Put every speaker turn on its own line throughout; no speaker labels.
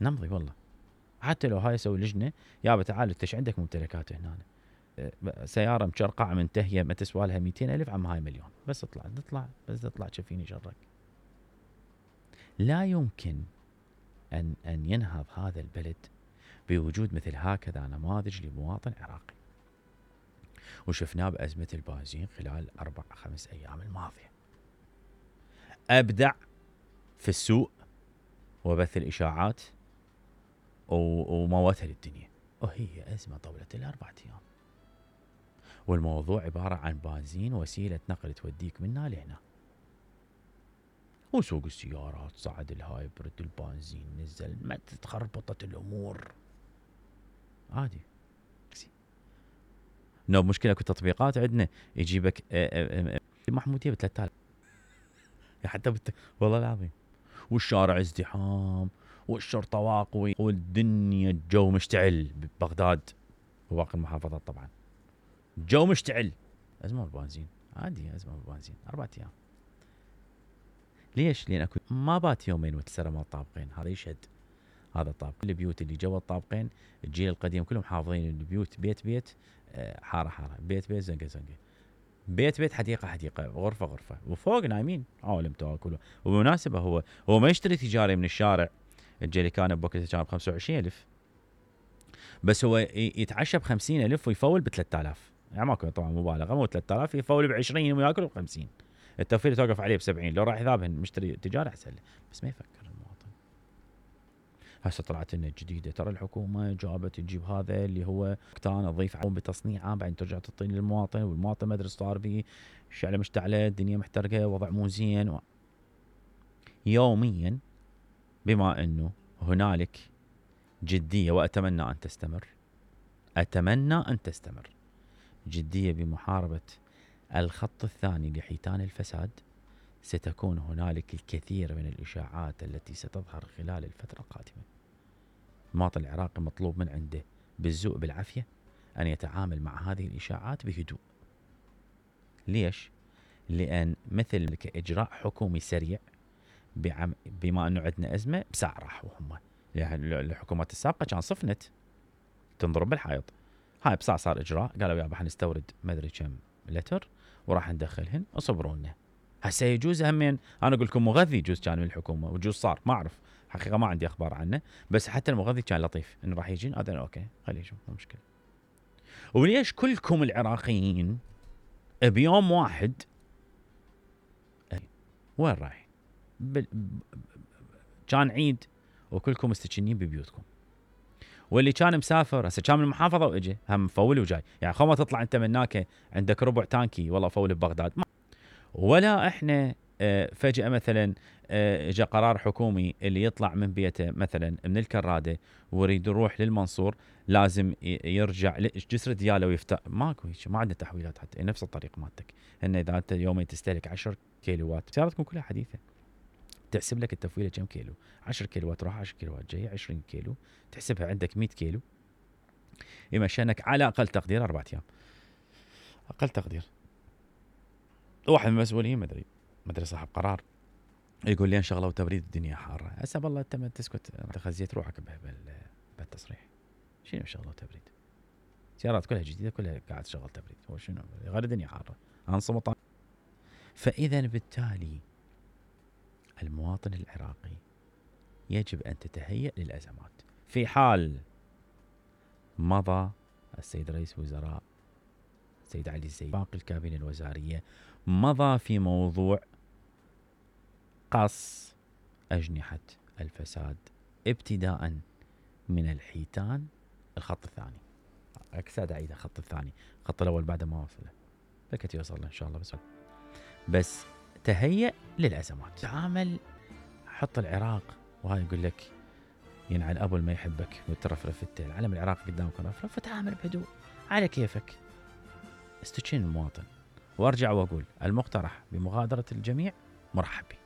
نمضي والله. حتى لو هاي اسوي لجنه، يابا تعال انت ايش عندك ممتلكات هنا؟ سياره مشرقعه منتهيه ما تسوى لها 200,000، عم هاي مليون، بس اطلع بس اطلع شفيني شرك. لا يمكن ان ينهض هذا البلد بوجود مثل هكذا نماذج لمواطن عراقي. وشفناه بأزمة البنزين خلال 4-5 أيام الماضية. أبدع في السوق وبث الإشاعات وموتها للدنيا، وهي أزمة طولت ال4 أيام، والموضوع عبارة عن بنزين وسيلة نقل توديك منا لهنا، وسوق السيارات صعد الهايبرد، البنزين نزل، ما تخربطت الأمور عادي. نو مشكلة التطبيقات عندنا يجيبك محمودية ب3000 حتى والله العظيم، والشارع ازدحام والشرطة واقوي والدنيا الجو مشتعل ببغداد وباقي المحافظات. طبعا الجو مشتعل، أزمة البنزين عادي، أزمة البنزين 4 أيام. ليش؟ لأن أكو ما بات يومين وتسرى ما طابقين، هذا يشهد هذا طابق. البيوت اللي جوا الطابقين الجيل القديم كلهم حافظين البيوت، بيت حارة حارة، بيت زنقة زنقة، بيت حديقة غرفة، وفوق نايمين عالم تاكل. وبمناسبة هو ما يشتري تجاري من الشارع. الجيلي كان بوقتها كان ب25,000، بس هو يتعشى ب50,000 ويفول ب3000. يعني ماكو طبعا مبالغة، مو 3000 يفول ب20 وياكل ب50. التوفير توقف عليه ب70، لو راح يذابهن مشتري تجاري احسن له، بس ما يفكر المواطن. هسه طلعت لنا الجديده، ترى الحكومه جابت تجيب هذا اللي هو كتان تضيف عليهم بتصنيعه، بعدين ترجع تعطيه للمواطن، والمواطن ما ادري صار به شعله مشتعله، الدنيا محترقه، وضع مو زين. يوميا بما انه هنالك جديه، واتمنى ان تستمر جديه بمحاربه الخط الثاني لحيتان الفساد، ستكون هنالك الكثير من الإشاعات التي ستظهر خلال الفترة القادمة. المواطن العراقي مطلوب من عنده بالذوق بالعافية أن يتعامل مع هذه الإشاعات بهدوء. ليش؟ لأن مثل إجراء حكومي سريع، بما أنه عندنا أزمة بساعة راحوا هم. يعني الحكومات السابقة كان صفنت تنضرب بالحائط، هاي بساعة صار إجراء، قالوا يابا حنستورد ما أدري كم لتر وراح ندخلهن اصبرونا. هسه يجوز همين، انا اقول لكم مغذي يجوز كان من الحكومه، وجوز صار ما اعرف حقيقه، ما عندي اخبار عنه، بس حتى المغذي كان لطيف انه راح يجين، هذا اوكي خليه يجون مو مشكله. وليش كلكم العراقيين بيوم واحد وين رايح؟ كان عيد وكلكم مستكنين ببيوتكم، واللي كان مسافر هسه كان من المحافظه واجى هم مفول وجاي، يعني خو ما تطلع انت من هناك عندك ربع تانكي والله فول ببغداد، ولا احنا فجأة مثلا جاء قرار حكومي اللي يطلع من بيته مثلا من الكرادة ويريد يروح للمنصور لازم يرجع جسر دياله ويفتح. ماكو هيك، ما عندنا تحويلات حتى نفس الطريق مالتك. ان اذا انت يومين تستهلك 10 كيلوات، سيارتكم كلها حديثة، تحسب لك التفويله كم كيلو، 10 كيلوات راح 10 كيلوات جاي 20 كيلو، تحسبها عندك 100 كيلو، يمشينك على اقل تقدير 4 ايام، اقل تقدير. واحد من المسؤولين ما ادري صاحب قرار يقول لي انشغلوا تبريد الدنيا حاره. هسه والله انت ما تسكت، انت خزيت روحك بالتصريح. شنو شغله تبريد؟ سيارات كلها جديده، كلها قاعد تشغل تبريد، هو شنو غير الدنيا حاره انصمت. فاذا بالتالي المواطن العراقي يجب ان تتهيأ للازمات. في حال مضى السيد رئيس وزراء السيد علي الزيدي، باقي الكابينة الوزارية، مضى في موضوع قص أجنحة الفساد ابتداء من الحيتان، الخط الثاني. أكساد عيدة الخط الثاني، الخط الأول بعد ما وصله فكت يوصل إن شاء الله. بس تهيأ للأزمات، تعامل، حط العراق. وهاي يقول لك ينعل أبو ما يحبك وترفرف التيل، علم العراق قدامك رفرف، فتعامل بهدوء على كيفك، استشين المواطن. وارجع واقول المقترح بمغادرة الجميع مرحب به،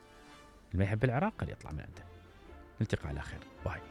اللي ما يحب العراق قد يطلع من عنده. نلتقي على خير، باي.